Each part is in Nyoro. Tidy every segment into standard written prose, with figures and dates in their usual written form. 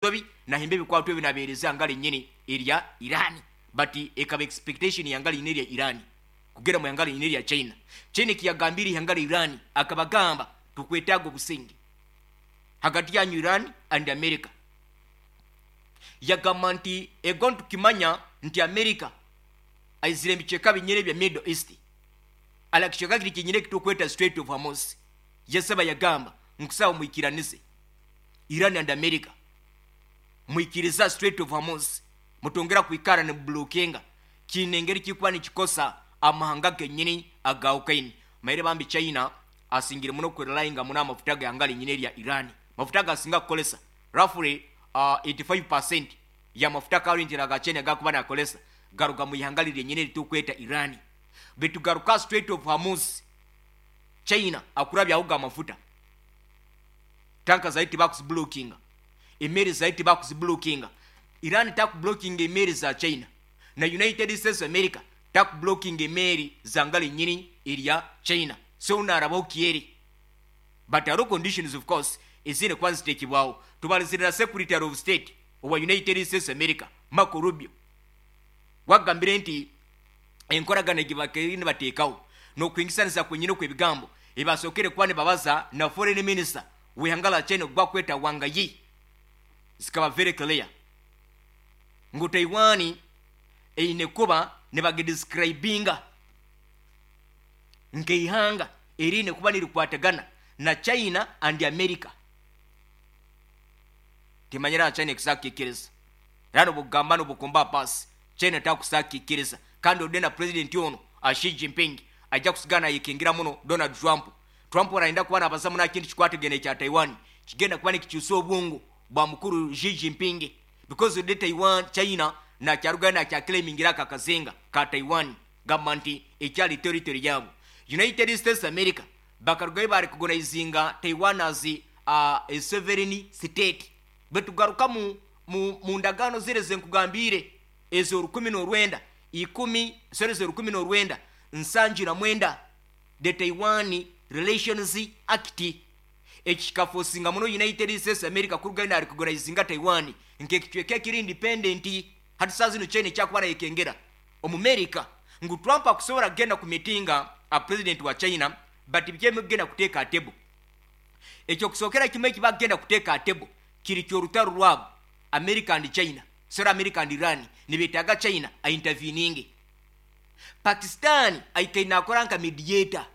Nsobi nahimba ebikwato ebi nabeereza ihanga lyenyini erya Iran, but ekaba expectation y'ihanga lyenyini erya Iran kugenda mu ihanga lyenyini erya China. China ekiyagambire ihanga lya Iran, akabagamba, "Tukwetaaga obusinge hagati yanyu, Iran and America." Yagamba nti ego, ntukimanya nti America aizire ebicweka binyini ebya Middle East, ala kicweka kiri kyenyini ekitukweta Strait of Hormuz. Yasaba, yagamba, "Nkusaba mwikiranize, Iran and America, mwikiriza Strait of Hormuz, mutongera kwikara nibublockinga kiine engeri kikuba nikikosa amahanga genyini agawukaine." Maire bambi China asingire muno kwerelyinga muno amafuta g'ihanga linyini erya Iran. Mafuta gasinga kukolesa, roughly 85% y'amafuta currently aga China gakuba nakolesa garuga mu ihanga liryenyini eritukweta Iran. Bitugaruka Strait of Hormuz, China akurabyaho ga mafuta, tanka zaiti bakuziblockinga, emeri zaiti bakuziblockinga. Iran takublockinga emeri za China, na United States America takublockinga emeri zanga linyini erya China. So unarabaho kieri, but hariho conditions, of course, ezine kuba zitekibwaho. Tubalizirira Secretary of State owa United States America, Marco Rubio, wagambire nti enkoragana egi nibateekaho n'okwingisaniza kwenyini okwebigambo ebasookere kuba nibabaza na foreign minister w'ihanga la China gwakweta Wang Yi zikaba very clear ngu Taiwan eine kuba nibagidescribinga nk'eihanga eriine kuba nirikwatagana na China and America. Timanyira China ekusakikiriza era nobugamba nobukumba pasi, China takusakikiriza. Kandi ode na president ono Xi Jinping ajja kusigana nayekingira muno Donald Trump. Trump arayenda kuba nabaza muno kintu kikwatagana ekya Taiwan, kigenda kuba nikikyusa obwongo bwa mukuru Xi Jinping, because ode Taiwan, China nakyarugayo nakyaclaimingira aka kazinga ka Taiwan, gamba nti ekyali territory yabo. United States America bakarugayo barecognizinga Taiwan as a sovereign state. Betugaruka mu ndagaano zire zenkugambire ezo 19 ikumi, sorry, ezo 1979, the Taiwan Relations Act, ekikaforcinga muno United States America kurugayo narecognizinga Taiwan nk'ekicweka ekiri independent. Hati saa zino China ekyakuba nayekengera Omumerika ngu Trump akusobola kugenda ku mitinga a president wa China, but bikyemu kugenda kuteeka table. Ekyokusookera kimu ekibagenda kuteeka table kiri ky'orutaro rwabo, America and China, sorry, America and Iran. Nibetaaga China ainterveninge. Pakistan aikaire nakora nka mediator.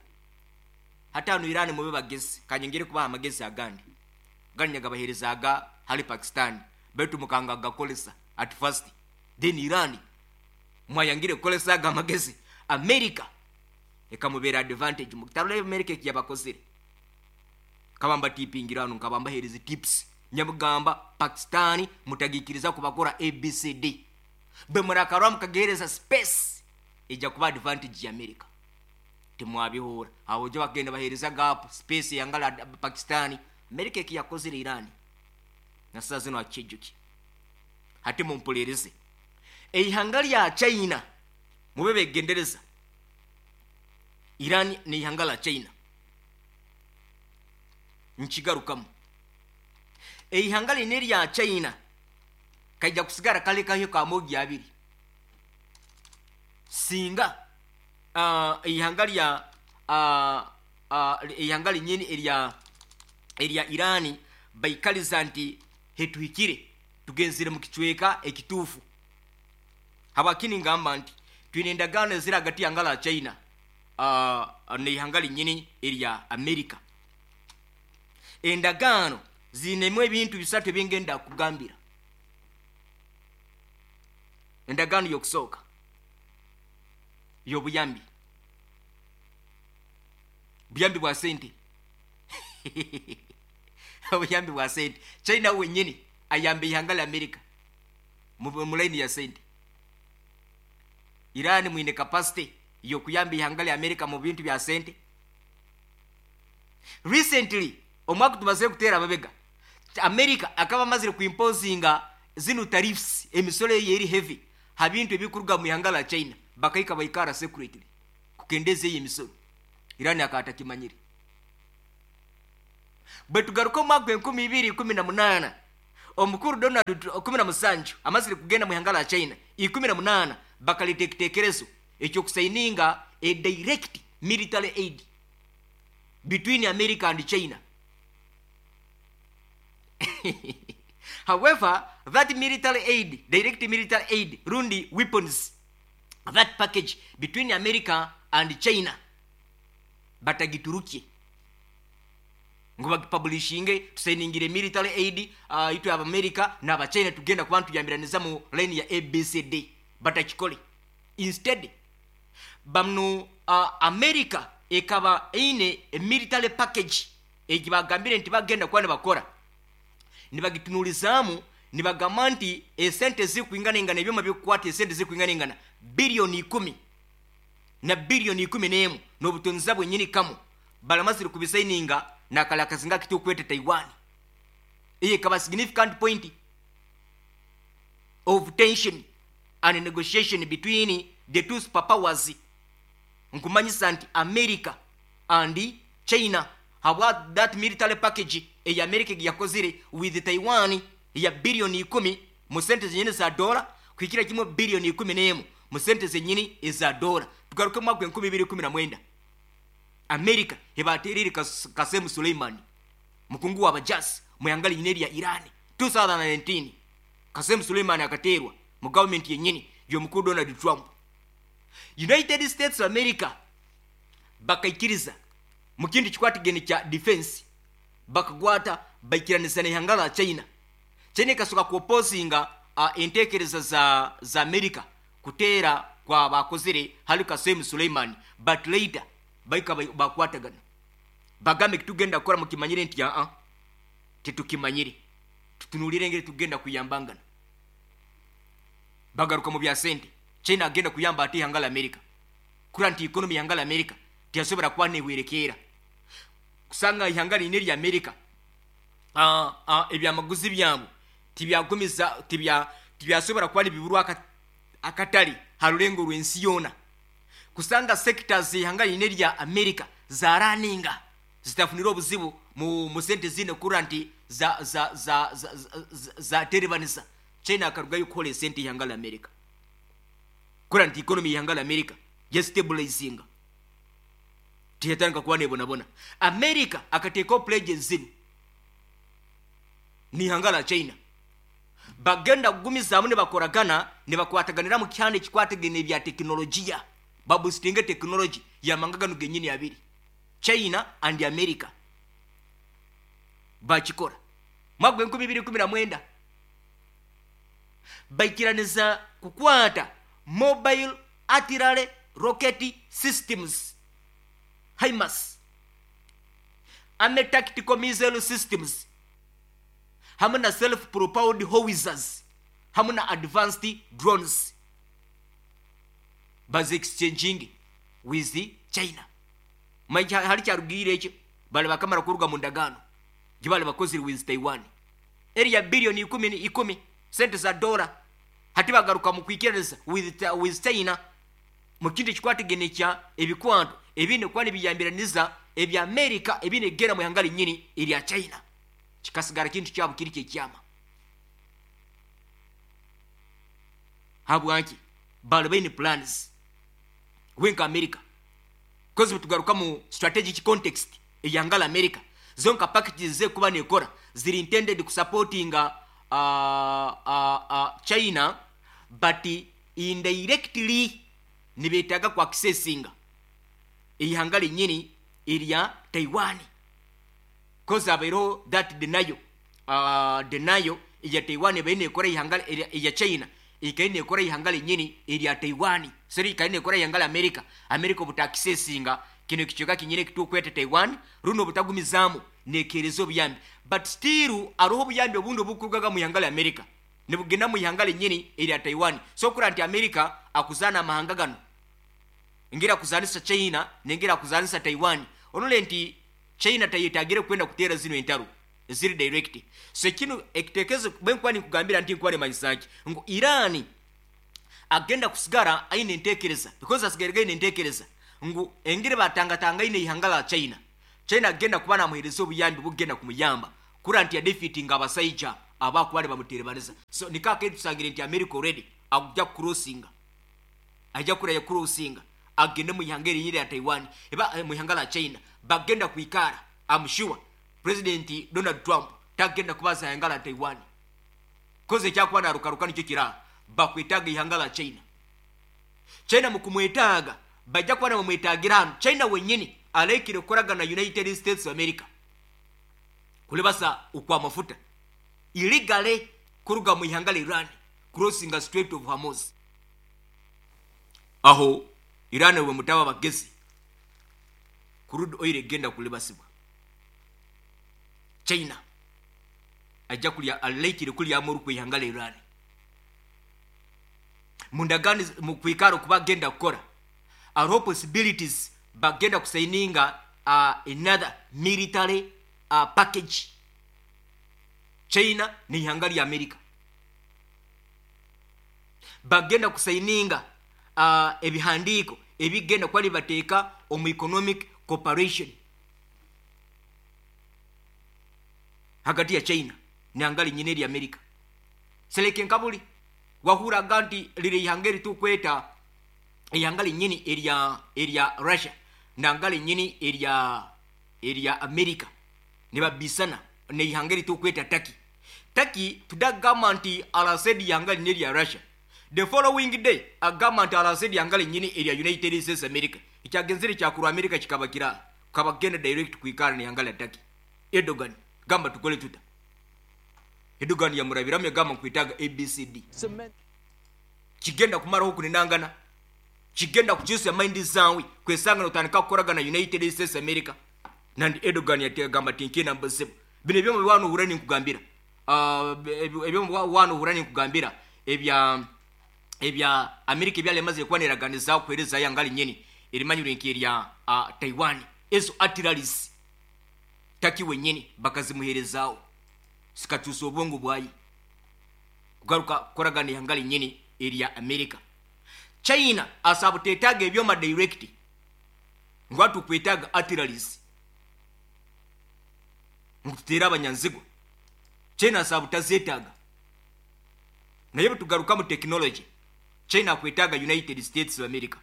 Hatano Iran, mube bagezi, kanyongere kubaha amagezi agandi gandi nyagabaherezaga hali Pakistan, baitu mukanga gakolesa at first, then Iran mwayangire kukolesaga amagezi, America ekamubeera advantage. Mutarole America ekiyabakozere. Kabamba tipingira hano, nkabamba hereza tips, nyamugamba Pakistan mutagikiriza kubakora ABCD, bwe murakarwa mukagereza space, ejja kuba advantage ya America. Timwabihura awo jo bagenda bahereza gap space yangala Pakistan. America ekiyakozere Iran na saa zino akijuki. Hati mumpulereze, eihanga lya China mube begendereza. Iran n'eihanga la China, nkigarukamu, eihanga lino erya China kaija kusigara kalekayo kamogi abiri singa eihanga lya eihanga linyini erya Irani baikaliza nti hetuhikire, tugenzire mu kicweka ekituufu. Habwakini ngamba nti twine endagaano eziri hagati y'ihanga la China n'eihanga linyini erya America. Endagaano ziinemu ebintu bisatu ebingenda kugambira. Endagaano y'okusooka y'obuyambi, buyambi bwa sente, obuyambi bwa sente. China wenyini ayamba ihanga lya America mu line ya sente. Iran mwine capacity yokuyamba ihanga lya America mu bintu bya sente? Recently, omwaka tumaze kuteera ababega, America akaba amazire kuimposinga zino tariffs, emisoro eyo eri heavy ha bintu ebikuruga mu ihanga la China. Bakaika baikara secretly kukendeza eyo emisoro. Iran akaba atakimanyire. Bwe tugaruka omwaka 2018, Omukuru Donald 17 amazire kugenda mu ihanga la China, 18 bakaleta ekitekerezo ekyokusaininga a direct military aid between America and China. However, that military aid, direct military aid, rundi weapons, that package between America and China batagiturukye ngu bagipublishinge, tusainingire military aid itwe Abamerika n'Abachina tugenda kuba ntuyambiraniza mu line ya ABCD, batakikole. Instead bamnu America ekaba eine military package egi bagambire nti bagenda kuba nibakora, nibagitunulizamu nibagamba nti esente zikuingana ebyoma bikukwata esente zikuingana biliyoni 10 na biliyoni 11 n'obutonzi bwenyini kamu balamazire kubisaininga nakalakazinga kitukwete Taiwan. Iye kaba significant point of tension and negotiation between the two superpowers, nkumanyisa nti America and China habwa that military package eya America yakozire with Taiwan ya biliyoni 10 mu sente zenyini za dola kwikira kimwe biliyoni 11 mu sente zenyini eza dola. Tugaruke mu mwaka 2019, America ebaterere Kasem Suleimani mukungu wa bajasi muyangali nyineri ya Iran. 2019 Kasem Suleimani akaterwa mu government yenyini y'omukuru Donald Trump. United States of America bakaikiriza mu kindi kikwatagene kya defense, bakagwata baikiranisa n'ihanga la China. China ikasoka kuoposinga entekereza za America kuteera kwa bakozere hali Kasem Suleimani, but later baika bakwatagana bagambe kitugenda kukora mukimanyire nti aa tetukimanyire, tutunulire engeri tugenda kuyambangana. Bagaruka mu bya sente, China agenda kuyamba ate ihanga la America kura nti economy ihanga la America tiyasobora kuba nehwerekeera kusanga ihanga line lya America ebyamaguzi byabo tibyagumiza tibyasobora kuba nibiburwa akatali harulengo rw'ensi yona, kusanga sectors ihanga line lya America zaraninga zitafunira obuzibu mu sente zine kura nti za terebanisa. China akarugayo kukola sente ihanga la America kura nti economy ihanga la America yestabilizinga tiyatanga kuba nebonabona. America akateekawo pledges zino ni ihanga la China bagenda kugumizaamu ne bakoragana ne bakwataganira mu kyana ekikwatagana ebya tekinologiya, babusitinge tekinologi yamanga gano genyini abiri, China and America bakikora. Mwaka 2019 baikiraniza kukwata mobile artillery rocket systems HIMARS, army tactical missile systems, hamwe na self propelled howitzers, hamwe na advanced drones, bazi exchanging with China. Maija hali kyarugire ekyo bali bakamara kuruga mu ndagaano gye bali bakozire with Taiwan eri ya biliyoni 10 sente za dola. Hati bagaruka mu kwikiriza with China mu kindi kikwatagene kya ebikwanto ebine kuba nibiyambiraniza ebya America ebine gera mu ihanga linyini erya China, kikasigara kintu kyabo kiri kyekyama. Habwanki bali baine plans wenka America kozi tugaruka mu strategic context eyangala America zonka packages ze kuba nekora ziri intended kusupportinga China, but indirectly nibetaga ku accessinga ihanga linyini erya Taiwan, kozi abairo that denial ya Taiwan baine ekora ihanga ya China ikaine ekora ihanga linyini erya Taiwan, seri ikaine ekora ihanga la America. America obutakisesinga kino kichoka kinyine kitukwete Taiwan runo butagumizamu nekerezo obuyambi, but still aroho obuyambi obundi obukurugaga mu ihanga la America nibugenda mu ihanga linyini erya Taiwan. So kura nti America akuzana amahanga gano ngira kuzanisa China nengira kuzanisa Taiwan, onole nti China tayetagire kwenda kutera zino entaro ziri direct. So kino ekitekezo bwenkwani kugambira nti nkwani manyisaki ngo Iran agenda kusigara aine entekereza, because asigara aine entekereza ngu engire batangatanga ine ihanga la China. China agenda kuba namuhereza obuyambi bugenda kumuyamba kura nti ya defeating abasaija Abakuba nibamuterebaniza. So nikaka tusangire nti America already ajja crossinga, ajja kuraya crossinga agende mu ihanga erinyiri ya Taiwan, eba mu ihanga la China bagenda kuikara. I'm sure President Donald Trump tagenda kubaza ihanga la Taiwan koze kyakuba narukaruka nicyo kira bakwetaga ihanga la China. China mukumwetaga bajja kuba namwetagira hano. China wenyini alekire kukoragana na United States of America kulibasa ukwa mafuta illegally kuruga mu ihanga la Iran crossing the Strait of Hormuz. Aho Iran we mutaba bagezi crude oil egenda kulibasibwa. China ajja kulya alekire kulya amuru ku ihanga la Iran. Mundagani mu kwikaro kubagenda kukora are possibilities bagenda kusaininga another military package. China ni ihanga lya America bagenda kusaininga ebihandiko ebigenda kwali bateka omu economic cooperation hagati ya China ni angali nyine lya America. Seleke nkabuli wahura ganti lile ihangeri tu kweta ihangari nyini area Russia na angali nyini area America ni babisana ne ihangeri tu kweta Turkey. Turkey tudagamba nti alasedi ihangari nyini ya Russia. The following day agamba nti alasedi ihangari nyini area United States America. Ikyagenzere kya kuru America kikabakira kabagenda direct kuikara ni ihangari ya Turkey. Erdogan gamba tukole tuta. Erdogan yamurabiramu yagamba nkwitaga ABCD. Kigenda kumaraho kuninangana. Kigenda kukyusa mind zawe kwesanga notandika kukoragana United States America. Nandi Erdogan yategamba tinkina mbuzibu. Bino ebyo mu wano hurani nkugambira. Ebyo mu wano hurani nkugambira ebya America ebyalemaze kwaneraganiza kuhereza yangali nyeni erimanyire nk'erya Taiwan. Ezo artilleries Taki wenyini bakazimuherezaawo sikakyusa obwongo bwayi kugaruka kukoragana yangali nyeni erya America. China asabutetaga ebyoma direct ngwatu kwetaga artilleries ngutera abanyanzigo. China asabutazetaga naye tugaruka mu technology. China kwetaga United States of America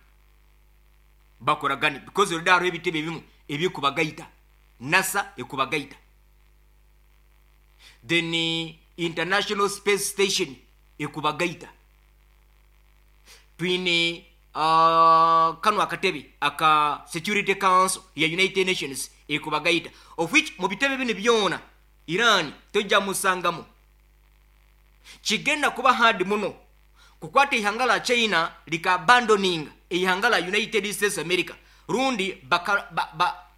bakoragani because oludaro ebitebe ebimu ebikubagaita NASA ekubagaita, then International Space Station ekubagaita, twine kano akatebe aka Security Council ya United Nations ekubagaita, of which mu bitebe bino byona Iran tojja musangamu. Kigenda kuba hard muno kukwata ihanga la China lika abandoning ihanga la United States America rundi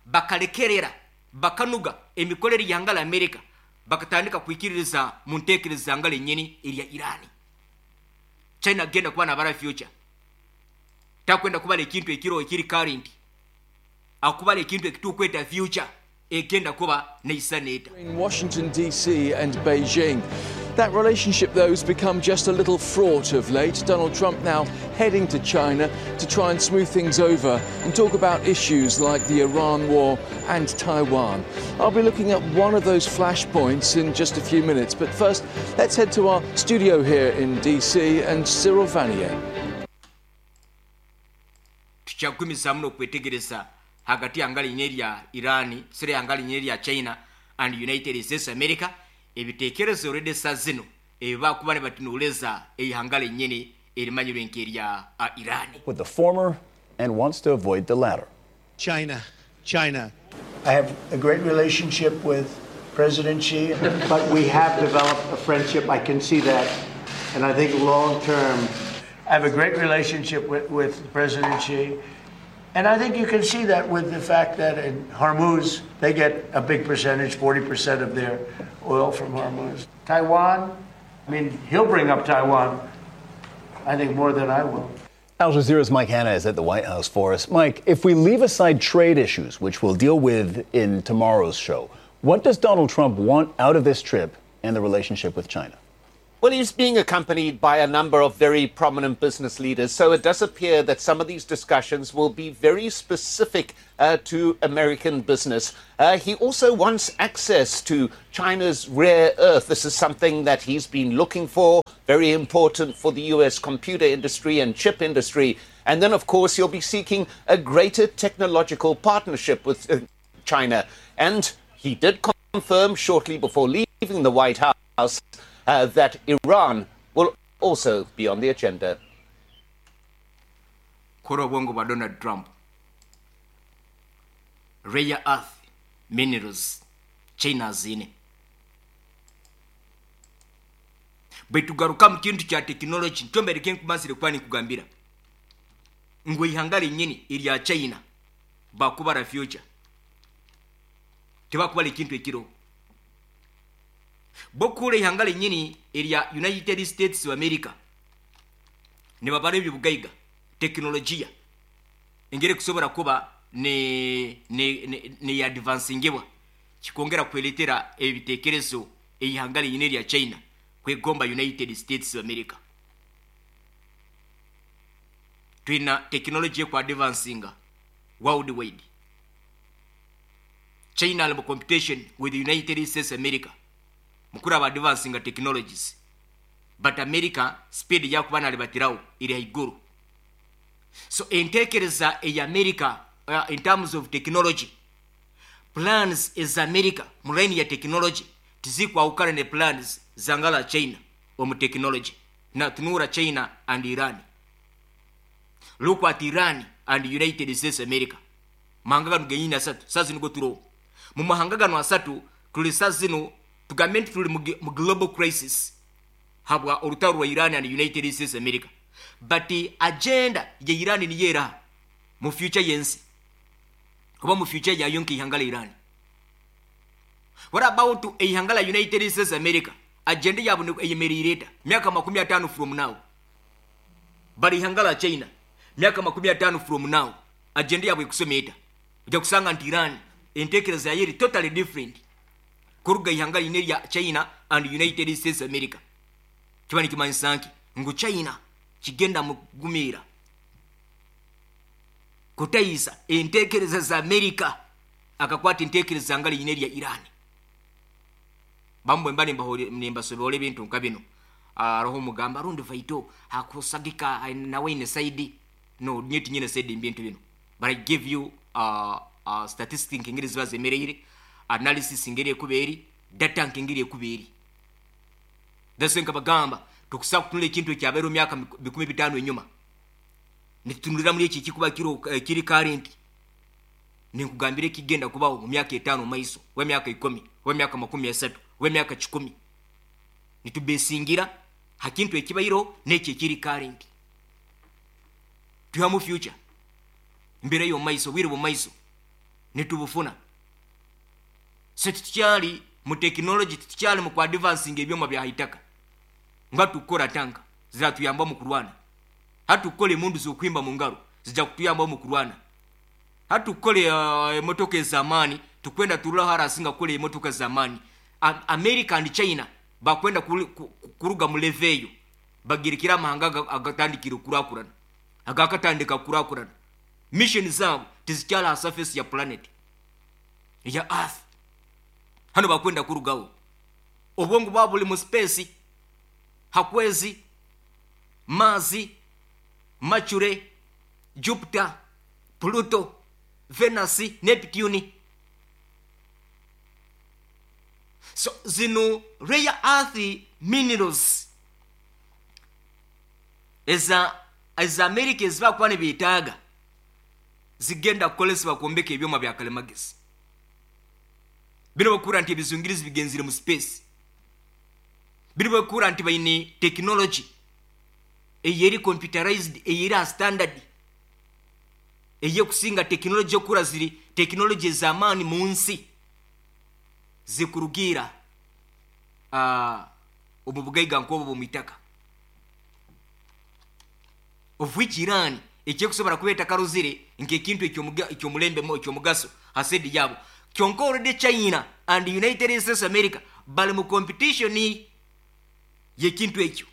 bakalekerera bakanuga emikolere y'ihanga la America bakatandika kwikiririza mu ntekereza ihanga lenyini erya Iran. China genda kuba nabara future takwenda kubala ekintu ekiro ekiri current akubala ekintu ekitukweta future egenda kuba neisaneta. In Washington DC and Beijing. That relationship, though, has become just a little fraught of late. Donald Trump now heading to China to try and smooth things over and talk about issues like the Iran war and Taiwan. I'll be looking at one of those flashpoints in just a few minutes. But first, let's head to our studio here in DC and Cyril Vanier. Tuchagumiza muno kwetegereza hagati ya ngali nyeri ya Iran, sire ya ngali nyeri ya China and United States America. Ebitekerezo already saa zino ebiba kuba ne batunuleza eihangale nyene erimanyirwe nk'erya Iran. With the former and wants to avoid the latter. China, China. I have a great relationship with President Xi, but we have developed a friendship. I can see that. And I think long term, I have a great relationship with President Xi. And I think you can see that with the fact that in Hormuz, they get a big percentage, 40% of their oil from Hormuz. Taiwan, I mean, he'll bring up Taiwan, I think, more than I will. Al Jazeera's Mike Hanna is at the White House for us. Mike, if we leave aside trade issues, which we'll deal with in tomorrow's show, what does Donald Trump want out of this trip and the relationship with China? Well, he's being accompanied by a number of very prominent business leaders, so it does appear that some of these discussions will be very specific to American business. He also wants access to China's rare earth. This is something that he's been looking for, very important for the US computer industry and chip industry. And then, of course, he'll be seeking a greater technological partnership with China. And he did confirm shortly before leaving the White House that Iran will also be on the agenda. Kora obwongo bwa Donald Trump. Rare earth minerals China aziine. Baitu garuka mu kintu kya tekinologi, nikyo mbaire nkumazire kuba ninkugambira ngu eihanga rinyini erya China bakubara future, tibakubara ekintu ekiriho. Bo kuhurra eihanga rinyini erya United States of America nibabara eby'obugaiga, tekinologiya engeri ekusobora kuba neyadivansingibwa, kikongera kweretera ebitekerezo eihanga rinyini erya China kwegomba United States of America. Twina tekinologi ekwadvansinga worldwide. China ali mu competition with the United States of America mukuru aba advancinga technologies, but America speed yakuba nalibatiraho eri haiguru. So entekereza eya America in terms of technology, plans eza America mu line ya technology tizikwahukana ne plans zangala China omu technology. Na tunura China and Iran. Look at Iran and United States of America. Mahanga gano genyini asatu, sasa nigo turoho. Mu mahanga gano asatu tuli sasa zino tugambe nti tuli mu global crisis habwa orutaro rwa Iran and United States of America. But agenda ya Iran ni yera mu future yensi, oba mu future yayo nk'ihanga la Iran. What about ihanga la United States of America? Agenda yabo eyemereire eta myaka 50 from now. But ihanga la China myaka 50 from now agenda yabo ekusoma eta. Ojja kusanga nti Iran entekereza yayo eri totally different kuruga ihanga line lya China and United States of America. Kiba nikimanyisa nki ngu China kigenda mugumira kutayisa entekereza za America akakwata entekereza nga line lya Iran. Bamwe mba nimbasobola ebintu nka bino. Aroho mugamba rundi vaito hakusagika nawe ine side no nyeti nyine side mbintu bino. But I give you statistics ngeri ziba zemereire, analysis ngeri ekuberi, data ngeri ekuberi. That's nka bagamba tukusaba kutunula ekintu ekyabeera mu myaka 15 enyuma. Nitutunulira muri eki kikuba kiri current. Ninkugambira ekigenda kubaho mu myaka 5 maiso, we myaka 10, we myaka 30, we myaka 10. Nitubesingira hakintu ekibairo n'eki ekiri current. Tuhamu future. Mbere yo maiso, bwire bu maiso. Nitubufuna. So tukyali mu technology, tukyali mu advancing ebyoma bya haitaka. Nga tukora tanka ziratuyamba mu kurwana. Hatukole mundu zokwimba mu ngaro zijja kutuyamba mu kurwana. Hatukole emotoka ez'amaani tukwenda turula harasinga kukora emotoka z'amaani. America and China bakwenda kuruga mu level eyo bagirikira amahanga agatandikira okurakurana, agakatandika kurakurana. Mission zabo tizikyali ha surface ya planet ya earth. Hano bakwenda kurugaho obwongo bwabo buli mu space, hakwezi, Mazi, Mercury, Jupiter, Pluto, Venus, Neptune. So zino rare earth minerals eza America ezibakuba nibeetaaga zigenda kukolesebwa kwombeka ebyoma bya kalimagezi. Bino bakura nti ebizungirizi bigenzire mu space. Bino bakura nti baine technology eyeri computerized, eyeri standard, eyekusinga technology okura ziri technology ez'amaani mu nsi zikurugira omu bugaiga nk'obwo bw'omu itaka. Of which Iran ekyekusobola kuba etakaruzire nk'ekintu ekyomulembe ekyomugaso ha side yabo. Kyonka already China and United States of America bali mu competition. Y'ekintu ekyo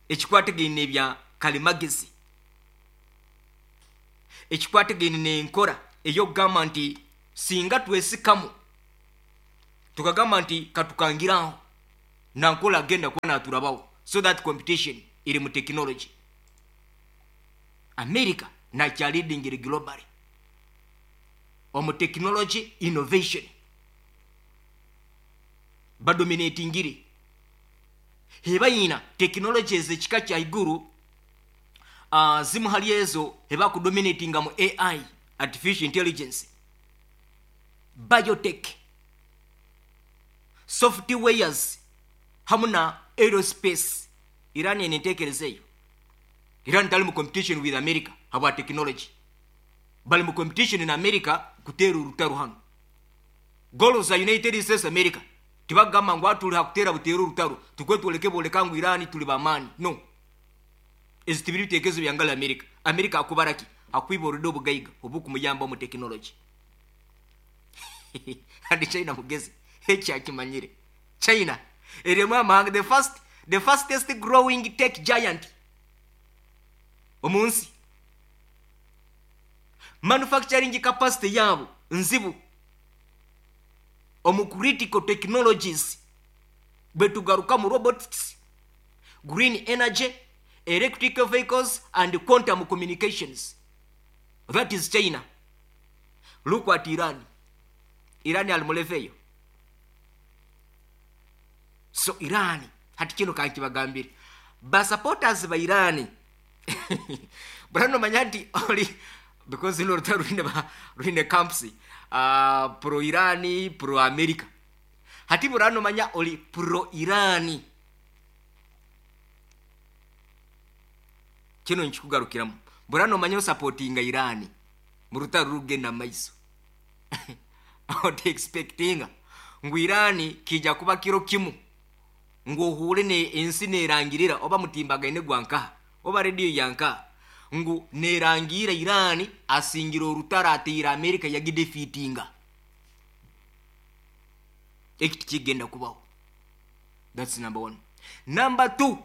ekikwatagaine n'ebya kalimagezi, ekikwatagaine n'enkora ey'okugamba nti singa twesikamu tukagamba nti katukangiraho nankola agenda kuba naturabaho. So that competition iri mu technology. America nakyaleadingire globally omu technology innovation, badominatingire hebayina technologies ekika kya iguru. Zimu hali ezo hebakudominatinga mu AI, artificial intelligence, biotech, softwares hamu na aerospace. Iran ene entekereza eyo. Iran tali mu competition with America habwa technology, bali mu competition na America kuteera orutaro. Hano goals za United States America, tibagamba ngu atuli hakutera buteera orutaro tukwe twoleke boleka ngu Iran tuli bamaani. No, ezi tibiri bitekerezo byangala America. America akubaraki akwiba obugaiga obukumuyamba mu technology. And China mugezi, ekyakimanyire China erimu amahanga the fastest growing tech giant omunsi. Manufacturing capacity yabo nzibu omu critical technologies, bwetugaruka mu robotics, green energy, electric vehicles and quantum communications. That is China. Look at Iran. Iran ali mu level eyo. So Iran hati kino kankibagambire, basupporters ba Iran burano manya nti oli, because ino rutaro rwine rwine camps, pro Iran, pro America. Hati burano manya oli pro Iran, kino nkikugarukiramu. Burano manya osupportinga Iran mu rutaro rugenda maiso, oti expectinga ngu Iran kija kuba kiro kimu ngu ohure ne ensi nerangirira oba mutimbagaine gwankaha oba rediyo yankaha ngu nerangira Iran asingira orutaro ateire America yagidefeatinga. Eki tikigenda kubaho. That's number one. Number two,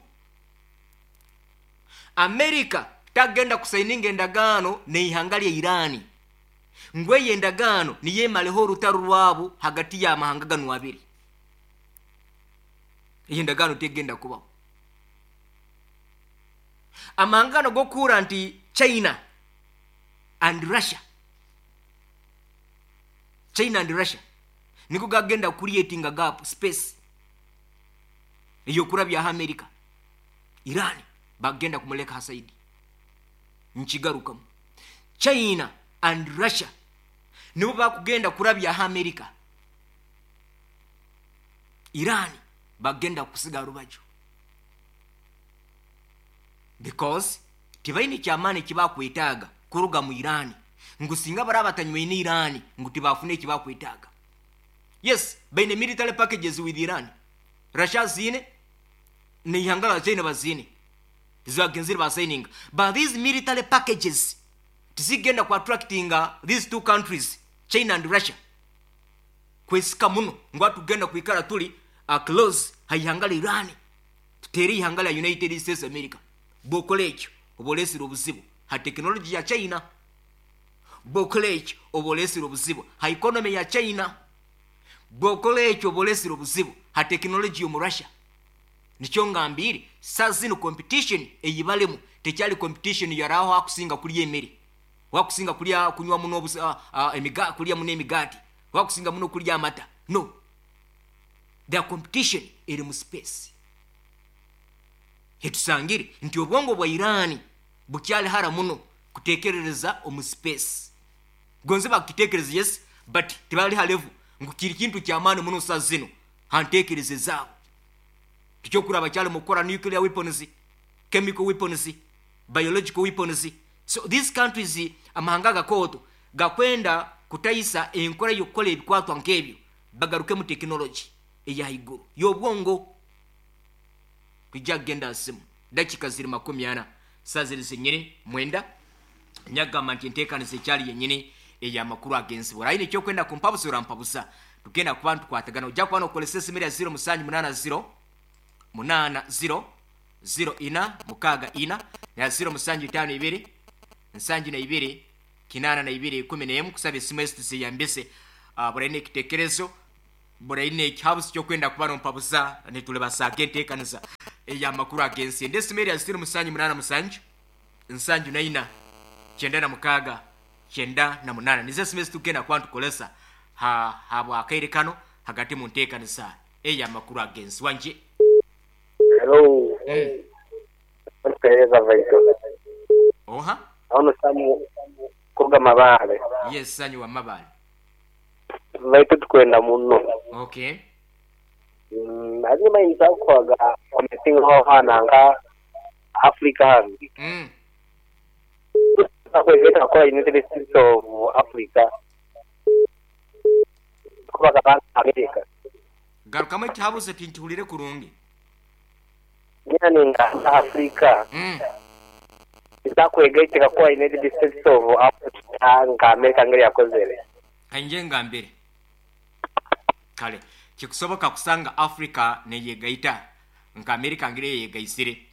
America tagenda kusaininga endagaano neihanga lya Iran ngu eyo endagaano niyemaleho orutaro rwabo hagati y'amahanga ganu abiri. Eyo endagaano tegenda kubaho. Amahanga gano gokuura nti China and Russia, China and Russia niko gagenda creating a gap space eyokurabyaho America. Iran bagenda kumuleka hasaidi. Nkigarukamu, China and Russia nibo bakugenda kurabyaho America. Iran bagenda kusiga rubaju because tibaine kyamaani ekibakwetaaga kuruga mu Iran, ngu singa baraba batanywaine Iran ngu tibafune ekibakwetaaga. Yes, baine military packages with Iran. Russia zine neihanga la China bazine zibagenzire basigninga, but these military packages tizigenda ku attractinga these two countries, China and Russia, kwesika muno ngu atugenda kwikara tuli close haihanga la Iran tutere ihanga la United States America. Bwokola ekyo oba olesire obuzibu ha technology ya China, bwokola ekyo oba olesire obuzibu ha economy ya China, bwokola ekyo oba olesire obuzibu ha technology yomu Russia. Nikyo ngambire saa zino competition eyibalemu tekyali competition yaraho akusinga kulya emere, wakusinga kulya kunywa muno kulya muno emigati, wakusinga muno kulya amata. No, their competition eri mu space. Hetusangire nti obwongo bwa Iran bukyali hara muno kutekerereza omu space. Gonze bakitekereza, yes, but tibali ha level ngu kiri kintu kyamaani muno saa zino hantekereze zaabo. Tikyokuraba kyali mu kukora nuclear weapons, chemical weapons, biological weapons. So these countries, amahanga gakooto gakwenda kutayisa enkora y'okukora ebikwatwa nk'ebyo, bagaruke mu technology eyahaiguru y'obwongo. Kujja kugenda simu dakika ziri 40 saa ziri zenyini 9. Nyagamba nti enteekaniza ekyali yennyini ey'amakuru ag'ensibo ayina ekyokwenda kumpabusa orampabusa, tugenda kuba ntukwatagana. Ojja kuba nokolesa esimu erya 0780 8 0 0 4 6 4 na 0 7 5 2 72 82 11. Kusaba esimu ezi tuziyambise. Buraine ekitekerezo, buraine ekihabuzi kyokwenda kuba nompabuza, nitulibasaga enteekaniza ey'amakuru ag'ensi. Ende esimu eri ya 0 7 8 7 74 96 98. Nizo esimu ezitugenda kuba nitukolesa habwakaire kano hagati mu nteekaniza ey'amakuru ag'ensi. Wanje. Hello. Ntuheereza Vaito. Oha? Ono Samu kuruga Mabaale. Yes, Sanyu wa Mabaale. Vaito tukwenda muno. Okay. Hanyuma yinza kukoga omeeting ho hana nka Africa hano. Akwegeta kwa United States of Africa. Kubaga ba America. Garukamu ekihabuzo tinkihulire kurungi. Yani nga Africa. Nzakwegaitira kwa United States of Africa nga America ngeri yakozere. Kanje ngambire. Kale kikusoboka kusanga Africa neyegaita nka America ngeri yegaisire.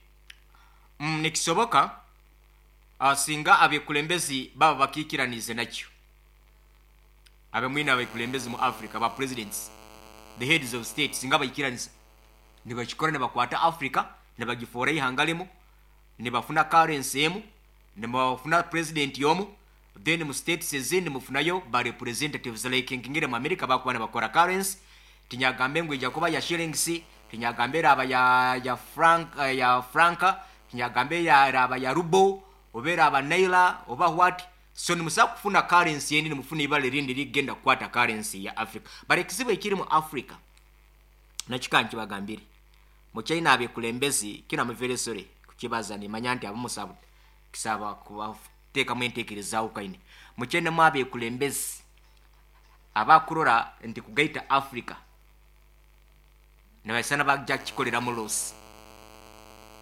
Nikisoboka singa abekulembezi baba bakikiranize nakyo. Abe mwina abekulembezi mu Africa ba presidents, the heads of states, singa bayikiraniza nibakikora nibakwata Africa nibagifora ihangalemo, nibafuna currency emu, nibafuna president yomu, then mu states ezindi mufunayo ba representatives like ngire mu America bakuba nibakora currency. Tinyagambe ngu ija kuba ya shillings, tinyagambe raba ya franc, ya franca, tinyagambe ya raba ya rubo, oba raba naira oba what. So nimusa kufuna currency yendi nimufuna ibale rindi ligenda kukwata currency ya Africa. But ekizibu ekiri mu Africa nakika nkibagambire, mu China abekulembezi kino I'm very sorry kukibaza, nimanya nti abamusabu kisaba kubateekamu enteekerezaawo kaine. Mu China mu abekulembezi abakurora nti kugaita Africa nibasana bajja kukikoleramu loss,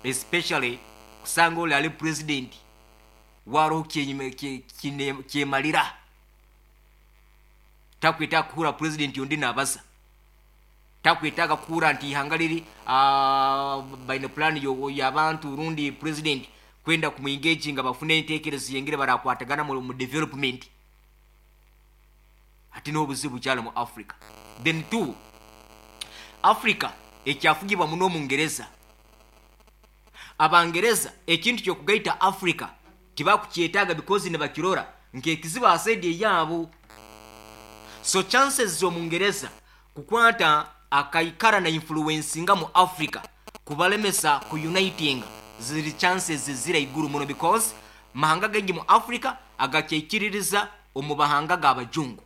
especially kusanga oli ali president waroho kyemalira takwetaaga kuhura president ondi nabaza, takwetaaga kuhura nti ihanga liri baine plan y'abantu rundi president kwenda kumuengage nga bafune enteekerezo yengere barakwatagana mu development. Ati n'obuzibu kyalo mu Africa. Then two, Africa ekyafugibwa muno Omungereza. Abangereza ekintu kyokugaita Africa tibakukyetaaga because nibakirora nk'ekizibu asaidi eyaabo. So chances z'Omungereza kukwata akaikara na influencinga mu Africa kubalemesa ku uniting ziri chances zira iguru muno, because mahanga gengi mu Africa agakyekiririza omu bahanga g'abajungu.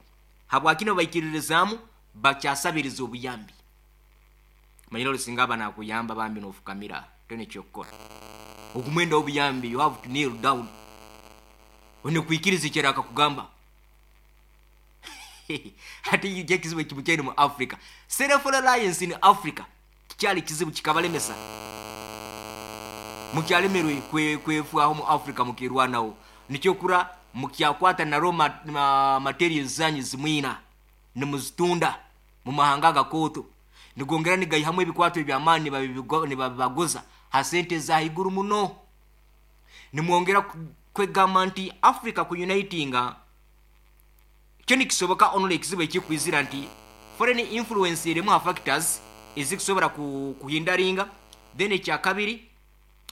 Habwakino baikiririzaamu bakyasabiriza obuyambi. Manyira olusinga aba nakuyamba bambi n'ofukamira tone kyokukora. Okumwenda obuyambi you have to kneel down. One kuikiriza ekyera akakugamba. Ati ekizibu ekimu mu Africa. Self reliance in Africa kikyali kizibu kikabalemesa. Mukyalemerwe kwefwaho mu Africa mukirwanaho. Nikyokura mukyakwata na raw materials zanyu zimwina nimuzitunda mu mahanga gakoto. Nigongera nigaihamu ebikwato eby'amaani nibabibaguza ha sente za iguru muno. Nimwongera kwegamba nti Africa ku unitinga kyo nikisoboka onole ekizibu ekikwizira nti foreign influence erimu ha factors ezikusobola kuhindaringa. Then ekyakabiri,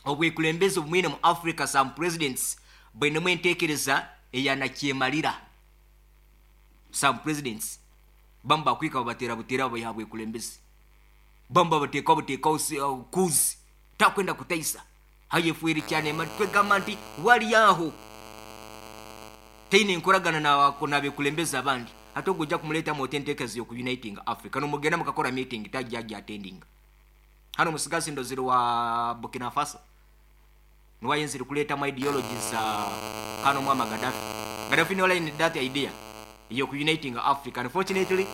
obwekulembezi obumwine mu Africa some presidents bwinemu enteekereza eyanakyemalira. Some presidents bamu bakwika babatera butera babayiha bwekulembezi, bamu babateeka buteekawo kuzi takwenda kutaisa hayefuire cyane. Twegamba nti wali aho teine enkoragana n'abekulembezi abandi, ate ogwo ojja kumuleetamu oti enteekereza y'oku uniting Africa nomugenda mukakora meeting tajja ajja attending. Hano musigazi ndozire wa Burkina Faso niwayenzire kuleetamu ideologies za kano mwama Gaddafi. Gaddafi niwe line that idea y'oku uniting Africa. Unfortunately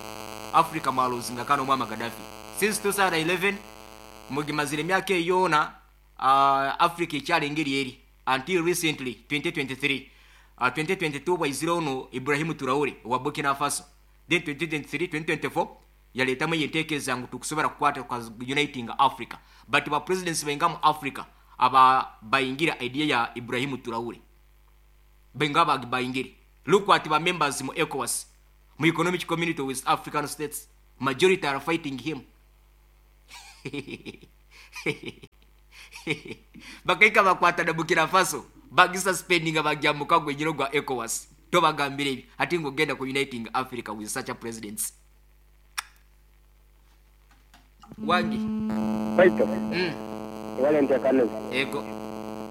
Africa mwaluzinga kano mwama Gaddafi since 2011 mugimazire emyaka eyona. Africa ekyali engeri eri until recently 2023. 2022 bwaizire ono Ibrahim Traore wa Burkina Faso, then 2023 2024 Yaletamu eyentekereza ngu tukusobora kukwata uniting Africa, but ba presidents bainga mu Africa aba bayingira idea ya Ibrahimu Traore, bainga bayingire. Look at ba members mu ECOWAS, mu Economic Community of West African States, majority are fighting him. Bakaika bakwata na Burkina Faso, bagisuspendinga, bagya mukago enyiro gwa ECOWAS. Tobagambire ebyo ate ng'ogenda ku uniting Africa with such a presidents. Wangi. Baito. Wale ntekaneza. Ego.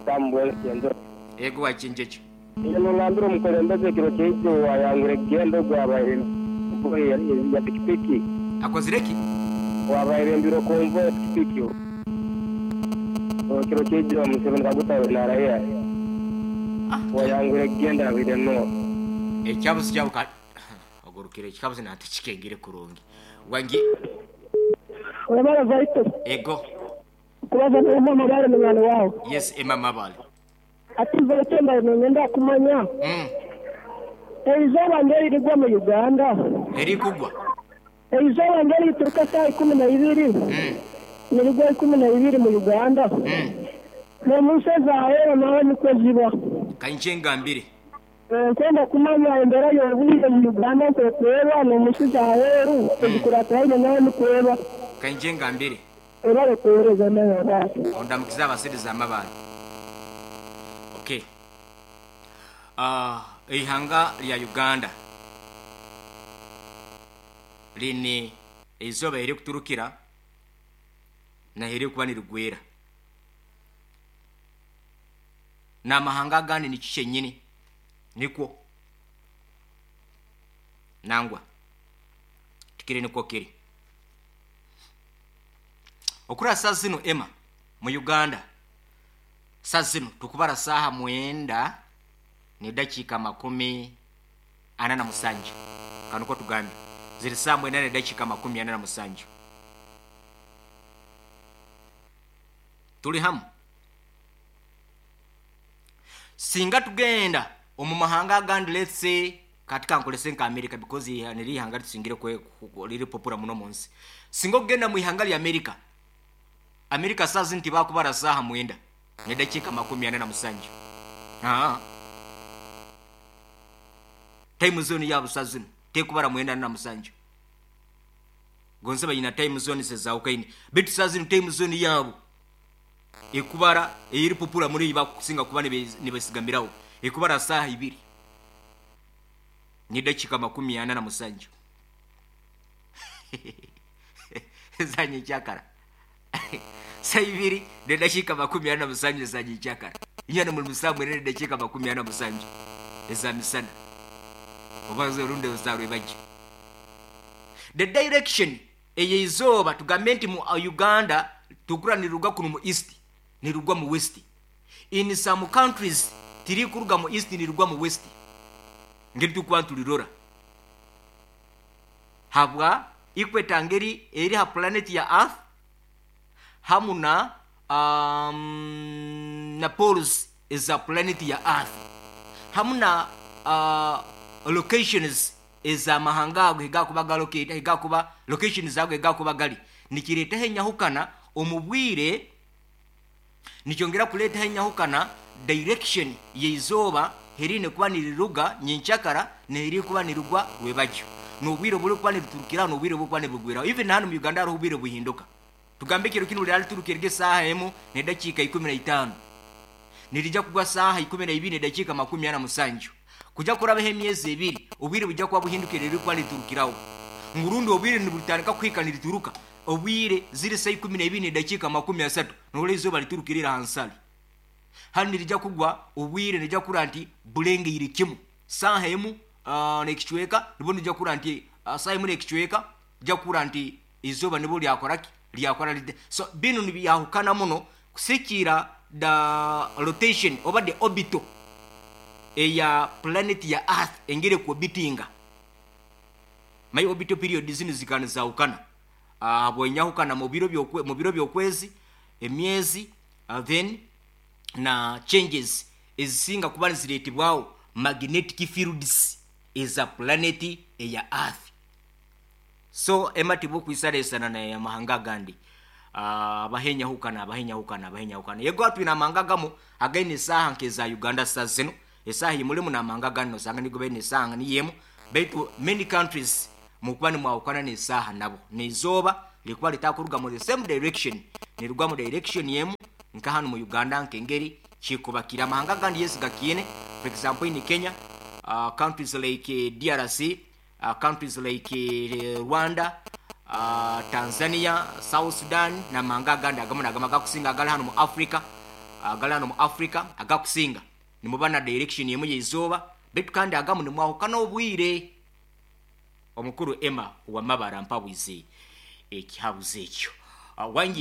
Samuel Kenzo. Ego wakinjejo. Iyo nongambira omukulembeze ekiro kyaijo wayangura ekigendo gwabaire ya pikipiki. Akozireki? Wabaire mbiro konvoy ya pikipiki. Ekiro kyaijo Museveni Kaguta na raia. Wayangura ekigendo abire no. Ekyabuzi kyabu ka ogurukire ekikabuzi natekikengire kurungi. Wangi. Wabara vaito. Ego. Kubaza n'omwana mabale munywani wawe. Yes, Emma Mabale. Ati vaito nenda kumanya. Eizooba ngeririgwa mu Uganda. Erikugwa. Eizooba ngerituruka saa 12. Nirigwa 12 mu Uganda. N'omunsi ezaaheero nawe nikwo ziba. Kanje ngambire. Nkwenda kumanya embeera y'obwire mu Uganda nkwekweba n'omunsi zaaheeru ezikuratiraine nawe nikweba. Kanje ngambire. Ebare kuweereza nawe. Ondamukiza abasiriza amabale. Okay. Eihanga lya Uganda line eizooba erikuturukira na erikuba nirigwera. N'amahanga agandi ni kikyenyini nikwo nangwa tikiri nikwo kiri. Okura saa zino Emma mu Uganda saa zino tukubara saha 9 ni dakika 47. Kanuko tugambe ziri saa 9 ni dakika 47. Tuli hamu. Singa tugenda omu mahanga agandi, let's say katika nkolese nka America, because niri ihanga tusingire kwe liri popular muno munsi. Singa ogenda mu ihanga lya America, America saa zino tibakubara saha 9 ni dakika 47. Time zone yabo saa zino tekubara 97. Gonse bayina time zone zezawukaine, bitu saa zino time zone yabo ekubara eri popular muri bakusinga kuba nibesigambirawo ekubara saha 2 ni dakika 47. Zanye chakara saa 2 ni dakika 47 zanye chakara inyana muri musamwe ni dakika 47 eza misana obaze runde usarwe baje. The direction eyeizoba tugambe nti mu Uganda tugura niruga kuno mu east nirugwa mu west. In some countries tiri kuruga mu east nirugwa mu west. Ngeri tukuba tulirora habwa ikweta ngeri eri ha planet ya earth hamuna na poles eza planet ya earth hamuna locations eza mahanga ago higakuba galocate higakuba locations ago higakuba gali nikireta henyahukana omubwire nikyongera kuleta henyahukana direction yeizoba herine kuba niriruga nyenchakara neheri kuba nirugwa webajyo nobwire buri kuba niriturukira nobwire buri kuba nibugwira. Even hano mu Uganda hariho ubwire buhinduka. Tugambe kiro kino liraliturukira esaha 1 ne dakika 15 nirija kugwa saha 12 ne dakika 47. Kuja kurabeho emyezi 2 obwire bujya kuba buhindukire riri kuba niturukiraho ngurundi obwire nibutandika kuhika nirituruka obwire ziri saa 12 ne dakika 30 nole izoba liturukirira hansali. Hano nirija kugwa obwire nirija kura nti bulengeire kimu saha 1 nekichweka nibo nirija kura nti saha 1 nekichweka nirija kura nti izoba nibo lyakoraki lyakora. So bino nibyahukana muno kusikira the rotation oba the orbital eya planet ya earth engere kubitinga my orbital period zino zikana zaukana bwenyahukana mu biro byokwezi emyezi then na changes ezisinga kuba ziretibwawo magnetic fields eza planet eya earth. So Emma, tibukwisalaisana na amahanga agandi. Abahenyahukana, abahenyahukana, abahenyahukana. Yego, atwine amahanga agamu againe esaaha nk'eza Uganda. Sa zino esaaha yimulimu n'amahanga agandi nosanga nigo baine esaaha niyo emu, baitu many countries mukuba nimwahukana n'esaaha nabo, n'izooba likuba litakuruga mu the same direction, nirugwa mu direction emu nka hano mu Uganda, nk'engeri kikubakira. Amahanga agandi, yes, gakiine. For example, in Kenya, countries like DRC, countries like Rwanda, Tanzania, South Sudan n'amahanga agandi agamu nagamu agakusinga agali hano mu Africa, agali hano mu Africa agakusinga nimuba na direction emu y'izooba, baitu kandi agamu nimwahukana obwire. Omukuru Emma Wamabara, mpabwize ekihabuzo ekyo. Wangi.